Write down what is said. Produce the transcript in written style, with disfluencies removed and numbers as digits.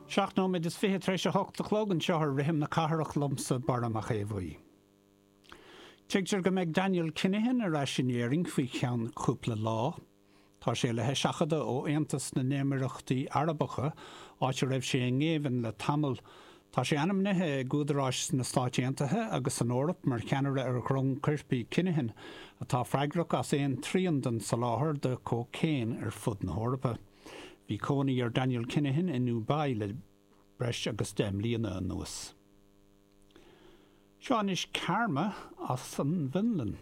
7 nóiméad is 20 tar éis a 8 a chlog anseo ar Rithim na Cathrach liomsa, Barra Mac Aodha Bhuí. Tuigtear go mbeidh Daniel Kinahan ar ais in Éirinn faoi cheann cúpla lá. Tá sé le heiseachadadh ó Aontas na nÉimíríochtaí Arabacha, áit a raibh sé i ngéibheann le tamall. Tá sé ainmnithe ag údaráis sna Stáit Aontaithe agus san Eoraip mar cheannaire ar dhrong coirpigh Kinahan, atá freagrach as aon trian den soláthar de chócaon ar fud na hEorpa. Bhí cónaí ar Daniel Kinahan i nDubai le breis agus 10 mbliana anuas. Seo anois Karma as an bhFionlainn.